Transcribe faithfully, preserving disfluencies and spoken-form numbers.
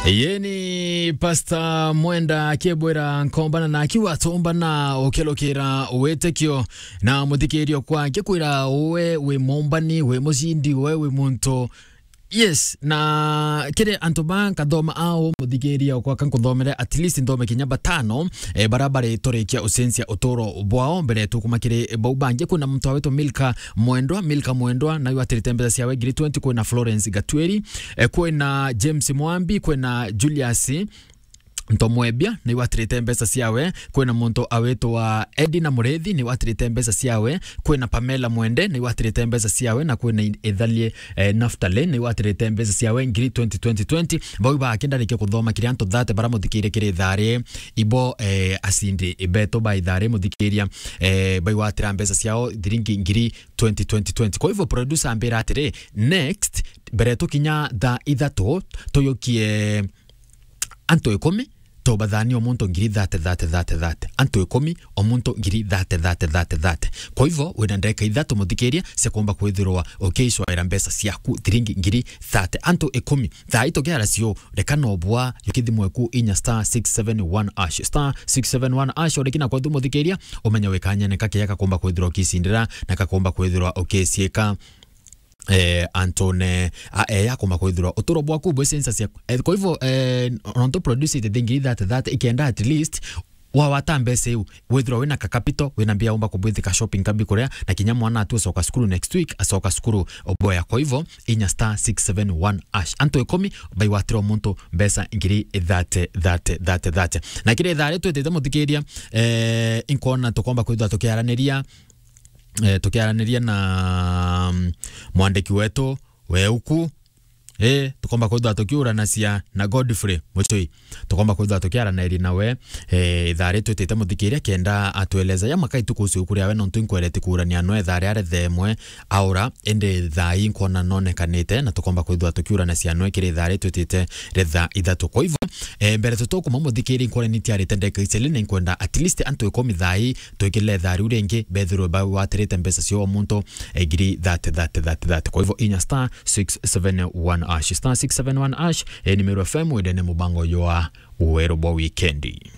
Yeni Pastor Mwenda akibwira nkombana na akiwa tombana ukilukira witikio na muthikirio kwa akikwira uwe wi mumbani, wi mucindi, uwe wi muntu. Yes, na kiri antu ba nkathoma ao muthikiria okwa kankuthomere at least nthome kinya batano, eh, bara bari turikia ucenjia uturo bwao mbere tukuma kiri bau bangi. Kwina muntu awitwa Milka Mwendwa, Milka Mwendwa, nayo atirite mbeca ciawe ngiri twenty. Kwina Florence Gatweri, eh, kwina James Mwambi, kwina Julius Ntomwebia, nayo atirite mbeca ciawe. Kwina muntu awitwa Edina Murethi, nayo atirite mbeca ciawe. Kwina Pamela Mwende, nayo atirite mbeca ciawe, na kwina Ithalie, eh, Naftali, nayo atirite mbeca ciawe ngiri twenty, twenty, twenty. Bau ba akindarikia kuthoma kiri antu thate bara muthikire kiri thari ibo, eh, acindi beto ba ithari muthikiria, eh, bau atira mbeca ciao thiringi ngiri twenty, twenty, twenty. Kwa hivyo producer ambira atiri, next, mbere tukinya thaa ithatu, tuyukie antu ikumi, tubathanie o muntu ngiri thate, thate, thate, thate. Antu ikumi, o muntu ngiri thate, thate, thate, thate. Kwa hivyo, wina ndagika ithatu muthikiria cia kuumba kwithirwa ukiicwaira mbeca ciaku thiringi ngiri thate. Antu ikumi. Thaa ii tukiara cio, reka no bwa, yukithimwe ku inya star six seven one hash. Star six seven one hash, urikina kwa tu muthikiria, umenye wikanyene kakia kakuumba kwithirwa ukicindira, na kakuumba kwithirwa ukiciika, eh, antune a, eh, ya kuumba kwithirwa uturo bwaku bwi census yaku. Eh, kwa hivyo, eh, nontu produce ite thingi thate thate, ikenda at least wawata mbeca iu, withirwa wina ka capital, wina mbia umba kubwithika shopping kambi kuria, na kinya mwana atu acoka cukuru next week, acoka cukuru oboya. Kwa hivyo, inya star six seven one hash. Antu ikumi, baiwatira muntu mbeca ngiri thate, thate, thate, thate. Na kiri thaa ri twitite muthikiria, eh, inkona tukomba kwithirwa tukiaraniria, eh, tukiaraniria na, mm, mwandiki wetu we uku, eh, tukomba kwithirwa tukiuranacia na Godfrey Muchui. Tukomba kwithirwa tukiaraniria nawe, eh, ithaa ri twitite muthikiria kenda atueleza ya makai tukucio kuria we nontu inkwereti kuurania no ithaa ri are themwe aura, indi thaa ii nkona nonekanite na tukomba kwithirwa tukiuranacia nwe kiri ithaa ri twitite ri thaa ithatu. Kwa hivyo, eh, mbere tutukuma muthikiria inkona ni tiarite ndeka iceli na inkwenda at least antu ikumi thaa ii twikirire ithaa riu ringi, bethirwe bawatirite mbeca cio o muntu, eh, ngiri thate, thate, thate, thate. Kwa hivyo, inya star six seven one hash, star six seven one hash, eh, ni Meru F M, wendene mubango jwa Weru bwa Wikendi.